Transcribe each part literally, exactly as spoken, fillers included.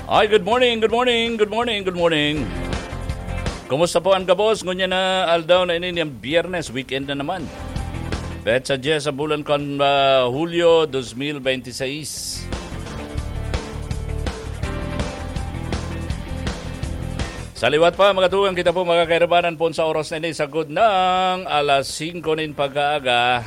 Hi, good morning, good morning, good morning, good morning. Kumusta po an gabos? Ngunyan na aldaw na ini, niyang Biyernes, weekend na naman. Petsa dyes sa bulan kan, ah, Hulyo dos mil benti seis. Sa liwat pa, mga tugang, kita po magkakairabanan po sa oras na ini, sagkod ng alas singko nin pagkaaga.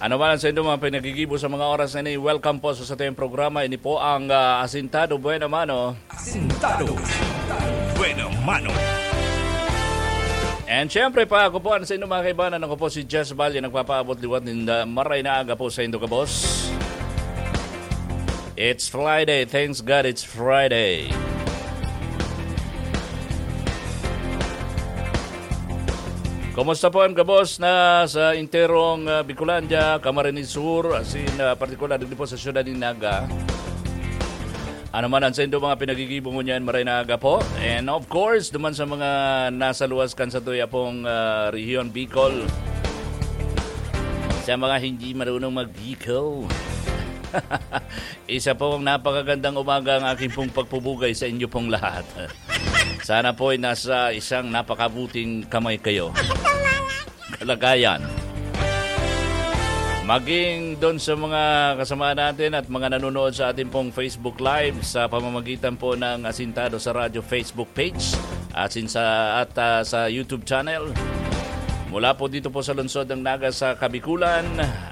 Ano man ang sa inyong mga pinagigibo sa mga oras na ini, welcome po sa satuyang programa. Ini po ang, ah, Asintado Buena Mano. Asintado Buena Mano. And syempre pa, ako po ang sa inyong mga kaibanan. Ako po si Jess Valle, nagpapaabot liwat ninda maray na aga po sa indo, kabos. It's Friday. Thanks God it's Friday. Kumusta po ang gabos na sa interong, ah, Bicolandia, Camarines Sur, as in, ah, partikular, digdi po sa siyudad ni Naga? Ano man ang sendo mga pinagigibo ngunyan, maray na aga po. And of course, duman sa mga nasa luwas kan sa tuya pong, ah, rehiyon, Bicol. Sa mga hindi marunong mag-Bicol. Isa pong napakagandang umaga ang aking pong pagpubugay sa inyo pong lahat. Sana po'y nasa isang napakabuting kamay kayo. Kalagayan. Maging doon sa mga kasama natin at mga nanonood sa ating pong Facebook Live sa pamamagitan po ng Asintado sa Radyo Facebook page at sin-, sa, at, ah, sa YouTube channel. Mula po dito po sa lungsod ng Naga sa Kabikulan,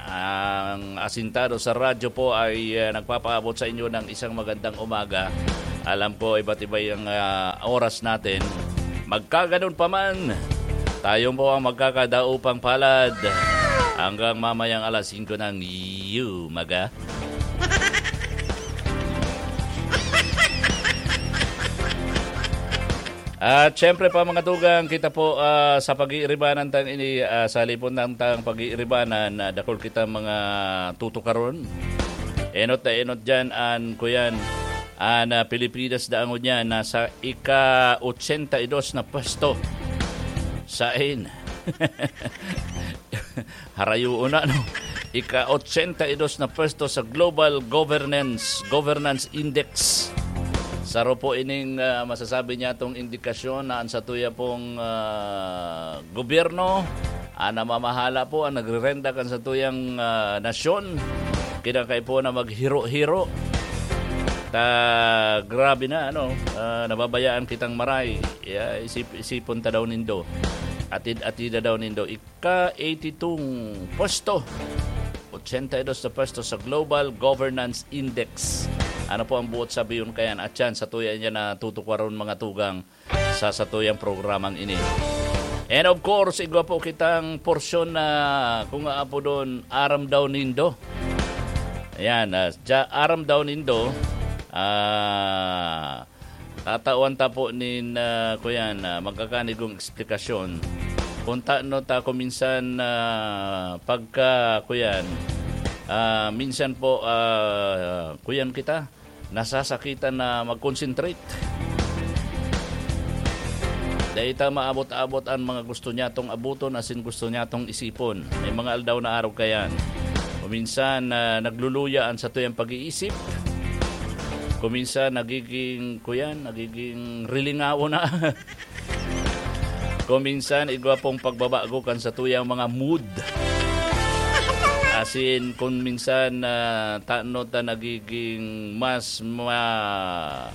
ang Asintado sa Radyo po ay, ah, nagpapaabot sa inyo ng isang magandang umaga. Alam ko, iba't iba yung, ah, oras natin. Magkaganon pa man, tayo po ang magkakadaupang palad hanggang mamayang alas singko ng umaga. At syempre pa, mga tugang, kita po, ah, sa pag-iiribanan tang ini, ah, sa lipon ng tang pag-iiribanan, ah, dakul kita mga tutukaron. Enot na enot dyan, an kuyan, an, ah, Pilipinas daang ngunyan, nasa ika-ochenta y dos na pwesto. Sain? Harayoon na, no? Ika-ochenta y dos na pwesto sa Global Governance, Governance Index. Saro po ining, ah, masasabi niya tong indikasyon na ang satuya pong, ah, gobyerno, ang namamahala po, ang nagrerenda kan satuyang, ah, nasyon, kinakaipo na maghiro-hiro. Ta, grabe na, ano, ah, nababayaan kitang maray. Ya, isip-, isipon ta daw nindo. Atid-atida daw nindo. Ka eighty-two pwesto, ochenta y dos na pwesto sa Global Governance Index. Ano po ang buot sabiyon kayan? At yan, satuya niya na tutukwaron, mga tugang, sa satuyang programang ini. And of course, igwa po kitang porsyon na kung aapodon, aram daw nindo. Ayan, ah, dya-, aram daw nindo. Ah, Tatawan ta po nin, ah, kuyan, ah, magkakanigong eksplikasyon. Kung tano ta kung minsan, ah, pagka, kuyan, ah, minsan po, ah, kuyan kita, nasasakitan na mag-concentrate. Dai ta maabot-abot an mga gusto niya tong abuton asin gusto niya tong isipon. May mga aldaw na arog kayan. Kung minsan, ah, nagluluya an satuyang pag-iisip. Kung minsan, nagiging, kuyan, nagiging rilingawo na. Kung minsan, igwa pong pagbabago kan satuyang mga mood. Asin, kung minsan, ah, tano ta nagiging mas ma-,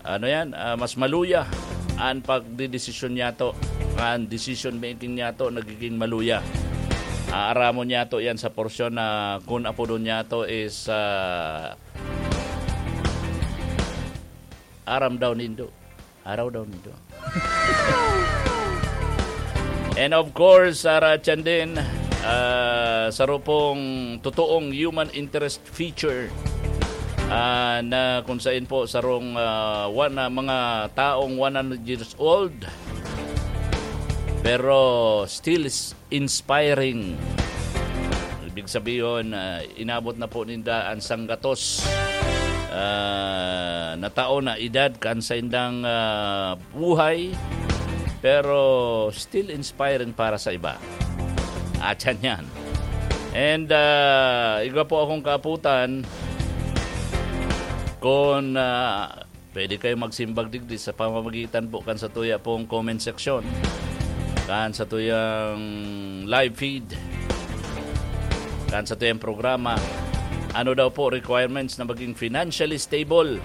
ano yan, ah, mas maluya an pagdedesisyon niyato, an decision making niyato nagiging maluya. Aaramon niyato yan sa porsyon na kun apodon niyato is, ah, aram daw nindo. Araw daw nindo. And of course, Sarah Chan din, ah, saro pong totoong human interest feature, ah, na kung sain po sarong, ah, one, ah, mga taong one hundred years old, pero still is inspiring. Ibig sabihin, ah, inabot na po ninda ang sanggatos, ah, na taon na edad kan saindang, ah, buhay, pero still inspiring para sa iba. At yan yan. And, ah, igwa po akong kaaputan, kun, ah, pwede kayo magsimbag digdi sa pamamagitan po kan satuya pong comment section, kan satuyang live feed, kan satuyang programa. Ano daw po requirements na maging financially stable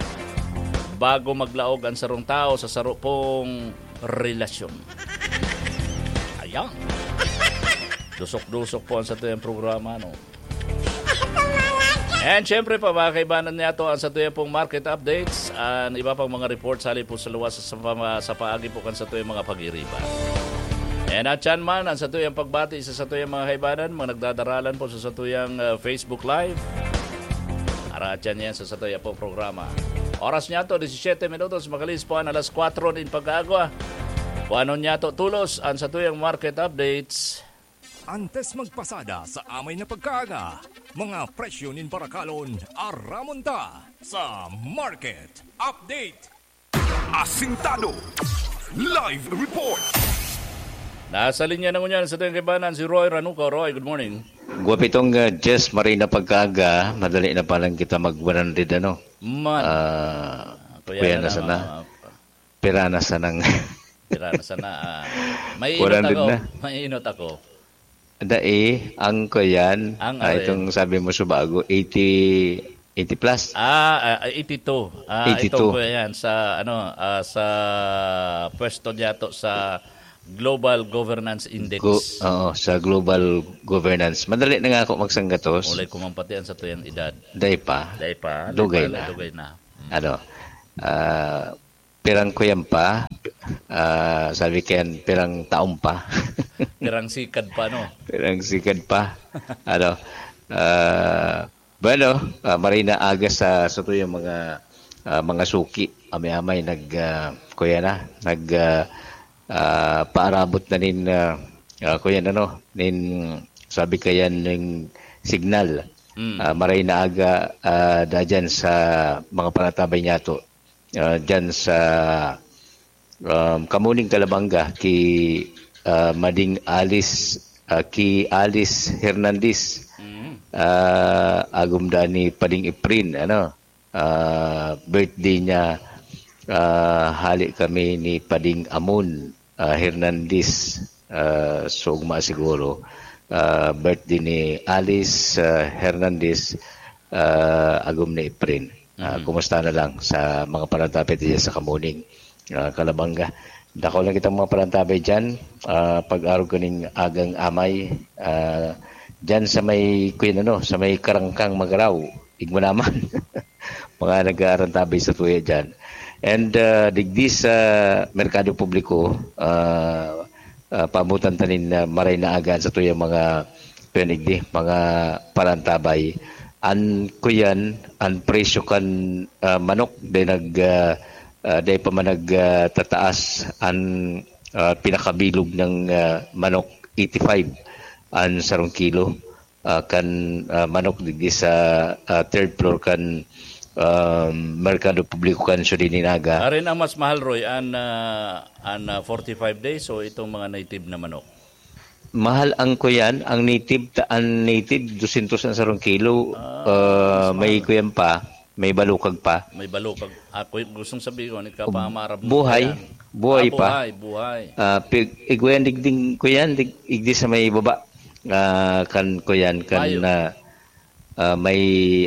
bago maglaog ang sarong tao sa saro pong relasyon? Ayan. Dusok-dusok po ang satuyang programa, no? And syempre pa, mga kaibanan niya to, ang satuya pong market updates, ang iba pang mga reports hali po sa luwas sa, sa, sa paagi po kan satuya mga pag-iriba. And at yan man, ang satuyang pagbati sa satuyang mga kaibanan, mga nagdadaralan po sa satuyang, uh, Facebook Live. Aratyan yan sa satuya pong programa. Oras niya to, disisyete minutos, makalis po ang alas kwatro nin pag-aagwa. Kung ano niya to, tulos, ang satuyang market updates. Antes magpasada sa amay na pagkaaga, mga presyo nin barakalon, aramon ta sa Market Update. Asintado. Live report. Nasa linya na ngunyan sa tuyang kaibanan si Roy Ranuco. Roy, good morning. Guwapitong, uh, Jess, maray na pagkaaga, madali na palang kita mag one hundred, ano? Man. Ah, Kuya kuya na na lang, sana. Ah, Pira na sanang Pira na sana, ah. May inot ako. May inot ako. Dai, ang kuyan, Ang ah, ano itong yan? Sabi mo subago, eighty, eighty plus. Ah, ah, eighty-two. Ah, eighty-two. Itong kuya yan sa, ano, ah, sa pwesto niya to sa Global Governance Index. Go-, oo, sa Global Governance. Madali na nga ako magsanggatos. Ulay ko man pati ang sa tuyang edad. Dai pa. Dai pa. Dugay Dai pa, na. Dugay na. Mm. Ano, ah, pirang kuyan pa, ah, sabi kayan, pirang taon pa. Pirang sikad pa, no? Pirang sikad pa. Ano, ah, bueno, ah, maray na aga sa, sa tuyang mga, ah, mga suki. Amay-amay nag, ah, kuya na, nag, ah, ah, paarabot na nin, ah, ah, kuya na, no, nin, sabi kayan, nin signal. Mm. Ah, maray na aga, ah, da dyan sa mga panatabay niya to. Ah, dyan sa, um, Kamuning Kalabanga, ki, ah, Mading Alice, ah, ki Alice Hernandez. Mm. Ah, agom da ni Pading Iprin, ano, ah, birthday niya, ah, hali kami ni Pading Amon, ah, Hernandez, ah, sa ugma siguro. Ah, birthday ni Alice, ah, Hernandez, ah, agom ni Iprin. Ah, Mhm. Kumusta na lang sa mga parantabay diyan sa Kamuning, ah, Kalabanga? Dako lang kitang mga parantabay diyan, ah, pag-arog kaning agang amay, ah, diyan sa may, kuyan ano, sa may Karangkang Magaraw, igmo naman. Mga nag-aarantabay sa tuya diyan. And, ah, digdi sa Merkado Publiko, ah, ah, paamutan ta nin, ah, maray na aga sa tuyang mga, kuyan digdi, mga parantabay. An, kuyan, an presyo kan, ah, manok, dai nag, ah, ah, dai pa man nag, ah, tataas an, ah, pinakabilog na, ah, manok, eighty-five an sarong kilo. Ah, kan, ah, manok digdi sa, ah, third floor kan, um, Merkado Publiko kan Siyudad nin Naga. Arin ang mas mahal, Roy, an, ah, an, ah, forty-five days o itong mga native na manok? Mahal ang kuyan, ang native, ta-, ang native, dosyentos ang sarong kilo. Ah, Ah, mas may mahal. Kuyan pa, may balukag pa. May balukag. Ako, gustong sabihin ko, nagkapamaram ng Buhay, kuyan. Buhay Ah, pa. Buhay, buhay. Ah, pig-, igwayan digding kuyan, dig-, igdi sa may baba. Ah, kan kuyan, kan, Mayo. ah, ah, may,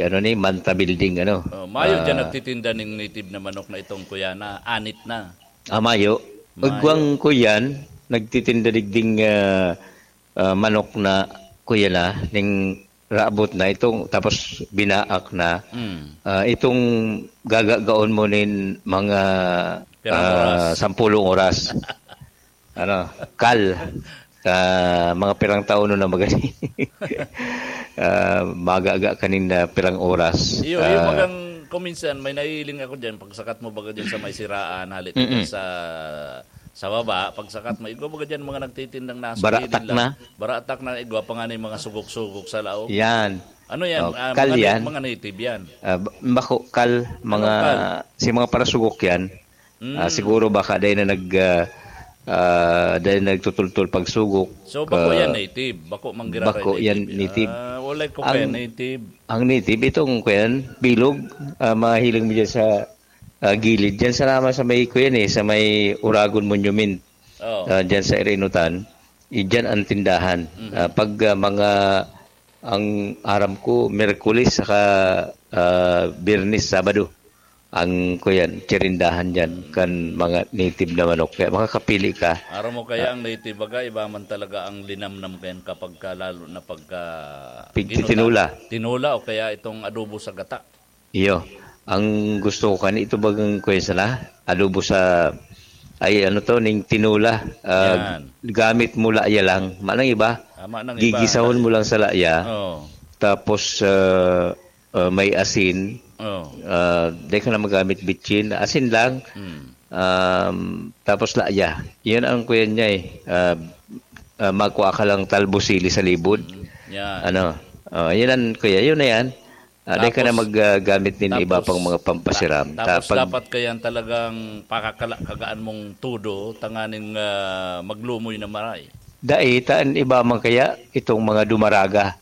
ano ni, Manta Building, ano. Oh, mayo dyan Ah, nagtitinda ning native na manok na itong kuya na anit na. Ah, mayo. Mayo. Igwang kuyan, nagtitinda digding, ah, ah, manok na kuya na, ning raabot na itong, tapos binaak na. Mm. Ah, itong gagagaon mo nin mga, Pirang ah, oras. Sampulong oras. Ano, kal. Ah, mga pirang taon na magani. Ah, magaga kanin na pirang oras. Iyo, iyo, Ah, bagang kuminsan may nahihiling ako diyan, pagsakat mo baga diyan sa may siraan, hali ka Mm-mm. diyan sa, sa baba, pagsakat mo, igwa baga diyan mga nagtitindang naso, Baratak kilid lang. Na. Baratak na, igwa pa nga na yung mga sugok-sugok sa laog. Yan. Ano yan? Oh, Ah, kal mga na-, yan. Mga native yan. Ah, ba-, bako, kal, Ano mga, kal? Si mga parasugok yan. Ah, Mm. Siguro baka dahil na nag, ah, Ah, dahil nagtutultol pagsugok. So, bako yan native. Bako manggiraray bako yan native. Native. Ah, walay ko kaya native. Ang native, itong kuyan, bilog, ah, mahiling mo dyan sa ah, gilid. Dyan sa naman sa may kuyan eh, sa may Uragon Monument. Oh. Ah, dyan sa Irinutan. Diyan ang tindahan. Mm-hmm. Ah, pag ah, mga ang aram ko, Miyerkules saka uh, Biyernes, Sabado ang kuyan, chirindahan dyan kan mga native na manok. Kaya makakapili ka. Aram mo kaya uh, ang native baga, iba man talaga ang linamnam kayan kapag ka, lalo na pagka... Pigtitinula. Tinula o kaya itong adobo sa gata. Iyo. Ang gusto ko kan ito bagang kuya sana, adobo sa, ay ano to, ning tinula. Ah, Yan. Gamit mo laya lang. Manang iba, Tama nang iba. Gigisahon mo lang sa laya. Oh. Tapos ah, ah, may asin. Oh. Ah, di ka na magamit bitchin. Asin lang. Mm. Um, tapos laya. Yan ang kuya niya eh. Ah, ah, magkuha ka lang talbos sili sa libod. Mm. Yan. Ano? Oh, yan ang kuya. Yun na yan. Ah, di ka na Tapos- maggamit din iba Tapos- pang mga pampasiram. Ta- tapos Tapag- dapat kaya talagang pakakala kagaan mong todo tanganing ah, maglumoy na maray. Dai, taan iba man kaya itong mga dumaraga.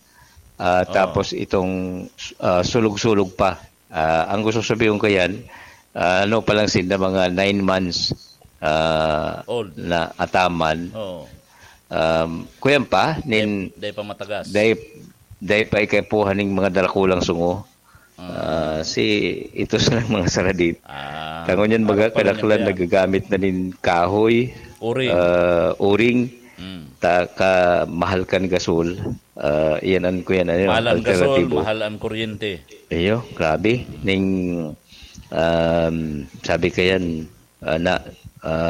Ah, Oo. Tapos itong ah, sulog-sulog pa. Ah, ang gusto sabihin ko yan, ah, ano pa lang sinda mga nine months ah, Old. Na ataman. Oo. Um, kuyan pa, nin, Day pa matagas. Day, day pa ikapuhan ning mga darakulang sungo. Ah, si ito sa mga saradit. Ah, Tangon yan, baga, harap pa rin kadaklan yan, kuya. Nagagamit na nin kahoy, Uring. Ah, uring, Mm. Ta ka mahal kan gasol. Ah, iyan an kuyan, ano, Mahal ang gasol, alternatibo. Mahal ang kuryente. Iyo, grabe. Ning, um, sabi kayan, ah, na, ah,